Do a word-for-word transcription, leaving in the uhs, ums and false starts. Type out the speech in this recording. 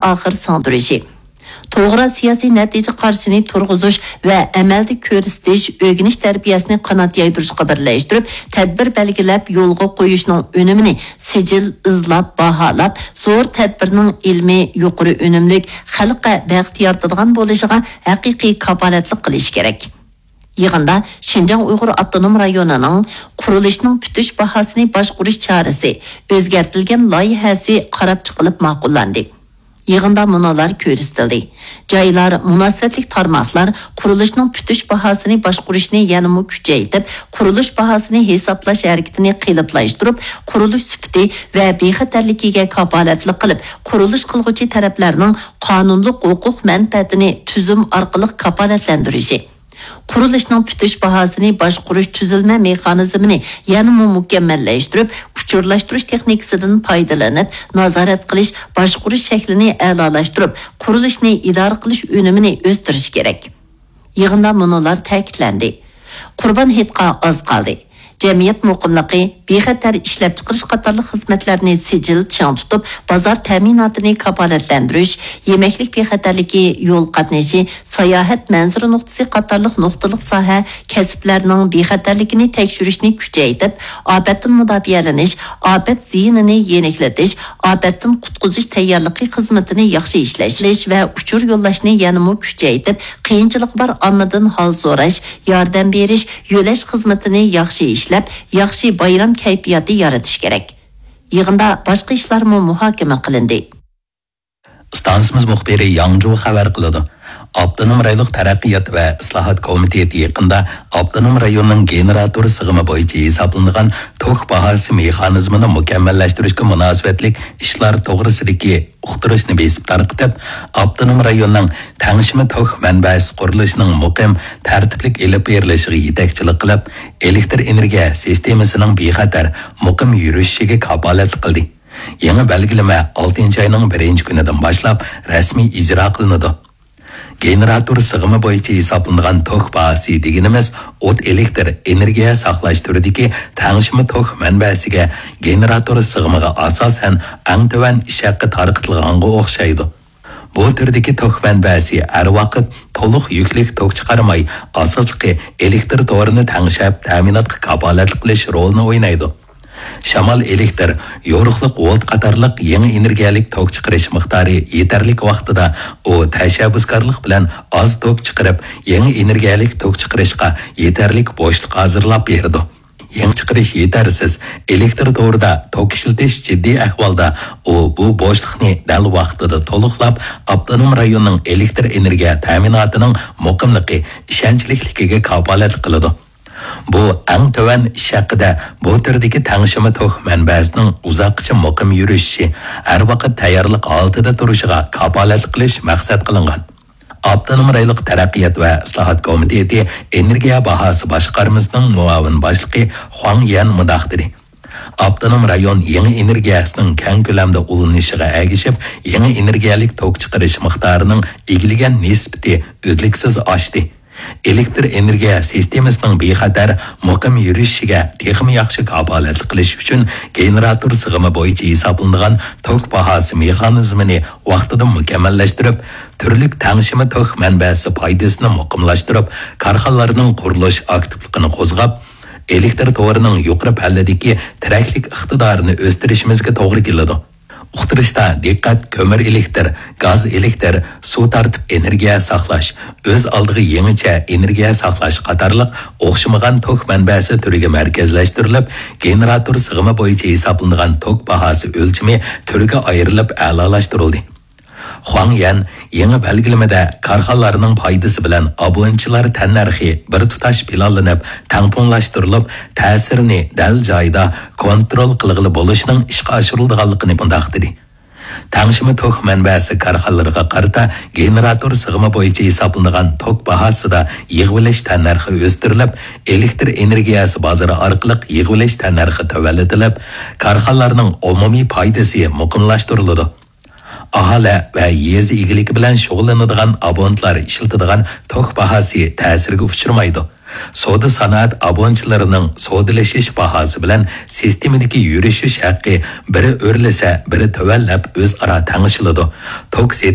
ئاخىر سىڭدۈرۈشى، توغرا سىياسىي نەتىجە قارىشىنى تۇرغۇزۇش ۋە ئەمەلدە كۆرسىتىش، ئۆگىنىش تەربىيەسىنى قانات يايدۇرۇشقا بىرلەشتۈرۈپ، تەدبىر بەلگىلەپ يولغا قويۇشنىڭ ئۈنۈمىنى سىجىل، ئىزلاپ، باھالاپ، زور تەدبىرنىڭ ئىلمىي، يۇقىرى ئۈنۈملۈك، خەلققە بەخت يارىتىدىغان بولۇشىغا ھەقىقىي كاپالەتلىك قىلىش كېرەك. يىغىندا شىنجاڭ ئۇيغۇر ئاپتونوم رايونىنىڭ قۇرۇلۇشنىڭ پۈتۈش باھاسىنى باشقۇرۇش چارىسى ئۆزگەرتىلگەن لايىھەسى قاراپ چىقىلىپ ماقۇللاندى. يىغىندا مۇنۇلار كۆرسىتىلدى: جايلار، مۇناسىۋەتلىك تارماقلار قۇرۇلۇشنىڭ پۈتۈش باھاسىنى باشقۇرۇشنى يەنىمۇ كۈچەيتىپ، قۇرۇلۇش باھاسىنى ھېسابلاش ھەرىكىتىنى قېلىپلاشتۇرۇپ، قۇرۇلۇش سۈپىتى ۋە بىخەتەرلىكىگە كاپالەتلىك قىلىپ، قۇرۇلۇش قىلغۇچى تەرەپلەرنىڭ قانۇنلۇق ھوقۇق مەنپەئەتىنى تۈزۈم ئارقىلىق كاپالەتلەندۈرۈشى، قۇرۇلۇشنىڭ پۈتۈش باھاسىنى باشقۇرۇش تۈزۈلمە مېخانىزمىنى يەنىمۇ مۇكەممەللەشتۈرۈپ، ئۇچۇرلاشتۇرۇش تېخنىكىسىدىن پايدىلىنىپ، نازارەت قىلىش، باشقۇرۇش شەكلىنى ئەلالاشتۇرۇپ، قۇرۇلۇشنى ئىدارە قىلىش ئۈنۈمىنى ئۆستۈرۈش كېرەك. يىغىندا مۇنۇلار تەكىتلەندى: قۇربان ھېيتقا ئاز قالدى. جەمئىيەت مۇقىملىقى، بىخەتەر ئىشلەپچىقىرىش قاتارلىق خىزمەتلەرنى سىجىل چىڭ تۇتۇپ، بازار تەمىناتىنى كاپالەتلەندۈرۈش، يېمەكلىك بىخەتەرلىكى، يول قاتنىشى، ساياھەت مەنزىرە نۇقتىسى قاتارلىق نۇقتىلىق ساھە، كەسىپلەرنىڭ بىخەتەرلىكىنى تەكشۈرۈشنى كۈچەيتىپ، ئاپەتتىن مۇداپىئەلىنىش، ئاپەت زىيىنىنى يېنىكلىتىش، ئاپەتتىن قۇتقۇزۇش تەييارلىقى خىزمىتىنى ياخشى ئىشلەش ۋە ئۇچۇر يوللاشنى يەنىمۇ كۈچەيتىپ، قىيىنچىلىقى بار ئاممىدىن ھال سوراش، ياردەم بېرىش، يۆلەش خىزمىتىنى ياخشى ئىشلەپ، ياخشى بايرام كەيپىياتى يارىتىش كېرەك. يىغىندا باشقا ئىشلارمۇ مۇھاكىمە قىلىندى. ئىستانسىمىز مۇخبىرى ياڭجۇ خەۋەر قىلىدۇ. ئاپتونوم رايونلۇق تەرەققىيات ۋە ئىسلاھات كومىتېتى يېقىندا ئاپتونوم رايوننىڭ گېنېراتور سىغىمى بويىچە ھېسابلىنىدىغان توك باھاسى مېخانىزمىنى مۇكەممەللەشتۈرۈشكە مۇناسىۋەتلىك ئىشلار توغرىسىدىكى ئۇقتۇرۇشنى بېسىپ تارقىتىپ، ئاپتونوم رايوننىڭ تەڭشىمە توك مەنبەسى قۇرۇلۇشىنىڭ مۇقىم، تەرتىپلىك ئېلىپ بېرىلىشىغا يېتەكچىلىك قىلىپ، ئېلېكتر ئېنېرگىيە سىستېمىسىنىڭ بىخەتەر، مۇقىم يۈرۈشۈشىگە كاپالەتلىك قىلدى. يېڭى بەلگىلىمە ئالتىنچى ئاينىڭ بىرىنچى كۈنىدىن باشلاپ رەسمىي ئىجرا قىلىنىدۇ. گېنېراتور سىغىمى بويىچە ھېسابلىنىدىغان توك باھاسى دېگىنىمىز ئوت ئېلېكتر ئېنېرگىيە ساقلاش تۈرىدىكى تەڭشىمە توك مەنبەسىگە، گېنېراتور سىغىمىغا ئاساسەن ئەڭ تۆۋەن ئىش ھەققى تارقىتىلغانغا ئوخشايدۇ. بۇ تۈردىكى توك مەنبەسى ھەر ۋاقىت تولۇق يۈكلۈك توك چىقارماي، ئاساسلىقى ئېلېكتر تورىنى تەڭشەپ، تەمىناتقا كاپالەتلىك قىلىش رولىنى ئوينايدۇ. شامال ئېلېكتر، يورۇقلۇق ۋولت قاتارلىق يېڭى ئېنېرگىيەلىك توك چىقىرىش مىقدارى يېتەرلىك ۋاقتىدا ئۇ تەشەببۇسكارلىق بىلەن ئاز توك چىقىرىپ، يېڭى ئېنېرگىيەلىك توك چىقىرىشقا يېتەرلىك بوشلۇق ھازىرلاپ بېرىدۇ. يېڭى چىقىرىش يېتەرسىز، ئېلېكتر تورىدا توك ئىشلىتىش جىددىي ئەھۋالدا، ئۇ بۇ بوشلۇقنى دەل ۋاقتىدا تولۇقلاپ، ئاپتونوم رايوننىڭ ئېلېكتر ئېنېرگىيە تەمىناتىنىڭ مۇقىملىقى، ئىشەنچلىكلىكىگە كاپالەتلىك قىلىدۇ. بۇ ئەڭ تۆۋەن ئىش ھەققىدە بۇ تۈردىكى تەڭشىمە توك مەنبەسىنىڭ ئۇزاققىچە مۇقىم يۈرۈشۈشى، ھەر ۋاقىت تەييارلىق ھالىتىدە تۇرۇشىغا كاپالەتلىك قىلىش مەقسەت قىلىنغان. ئاپتونوم رايونلۇق تەرەققىيات ۋە ئىسلاھات كومىتېتى ئېنېرگىيە باھاسى باشقارمىسىنىڭ مۇئاۋىن باشلىقى خۇاڭ يەن مۇنداق دېدى: ئاپتونوم رايون يېڭى ئېنېرگىيەسىنىڭ كەڭ كۆلەمدە ئۇلىنىشىغا ئەگىشىپ، يېڭى ئېنېرگىيەلىك توك چىقىرىش مىقدارىنىڭ ئىگىلىگەن نىسبىتى ئۈزلۈكسىز ئاشتى. ئېلېكتر ئېنېرگىيە سىستېمىسىنىڭ بىخەتەر، مۇقىم يۈرۈشۈشىگە تېخىمۇ ياخشى كاپالەتلىك قىلىش ئۈچۈن گېنېراتور سىغىمى بويىچە ھېسابلىنىدىغان توك باھاسى مېخانىزمىنى ۋاقتىدا مۇكەممەللەشتۈرۈپ، تۈرلۈك تەڭشىمە توك مەنبەسى پايدىسىنى مۇقىملاشتۇرۇپ، كارخانىلارنىڭ قۇرۇلۇش ئاكتىپلىقىنى قوزغاپ، ئېلېكتر تورىنىڭ يۇقىرى پەللىدىكى تىرەكلىك ئىقتىدارىنى ئۆستۈرۈشىمىزگە توغرا كېلىدۇ. ئۇقتۇرۇشتا دىققەت كۆمۈر ئېلېكتىر، گاز ئېلېكتىر، سۇ تارتىپ ئېنېرگىيە ساقلاش، ئۆز ئالدىغا يېڭىچە ئېنېرگىيە ساقلاش قاتارلىق ئوخشىمىغان توك مەنبەسى تۈرىگە مەركەزلەشتۈرۈلۈپ، گېنېراتور سىغىمى بويىچە ھېسابلىنىدىغان توك باھاسى ئۆلچىمى تۈرگە ئايرىلىپ ئەلالاشتۇرۇلدى. خۇاڭ يەن يېڭى بەلگىلىمىدە كارخانىلارنىڭ پايدىسى بىلەن ئابونېنتلار تەننەرخى بىر تۇتاش پىلانلىنىپ، تەڭپۇڭلاشتۇرۇلۇپ، تەسىرىنى دەل جايىدا كونترول قىلغىلى بولۇشنىڭ ئىشقا ئاشۇرۇلىدىغانلىقىنى مۇنداق دېدى: تەڭشىمە توك مەنبەسى كارخانىلىرىغا قارىتا گېنېراتور سىغىمى بويىچە ھېسابلىنىدىغان توك باھاسىدا يىغىۋېلىش تەننەرخى ئۆستۈرۈلۈپ، ئېلېكتر ئېنېرگىيەسى بازىرى ئارقىلىق يىغىۋېلىش تەننەرخى تۆۋەنلىتىلىپ، كارخانىلارنىڭ ئومۇمىي پايدىسى مۇقىملاشتۇرۇلىدۇ. ئاھالە ۋە يېزا ئىگىلىكى بىلەن شۇغۇللىنىدىغان ئابونېنتلار ئىشلىتىدىغان توك باھاسى تەسىرگە ئۇچرىمايدۇ. سودا سانائەت ئابۇنىچىلىرىنىڭ سودىلىشىش باھاسى بىلەن سىستېمىدىكى يۈرۈشۈش ھەققى بىرى ئۆرلىسە، بىرى تۆۋەنلەپ، ئۆزئارا تەڭشىلىدۇ. توك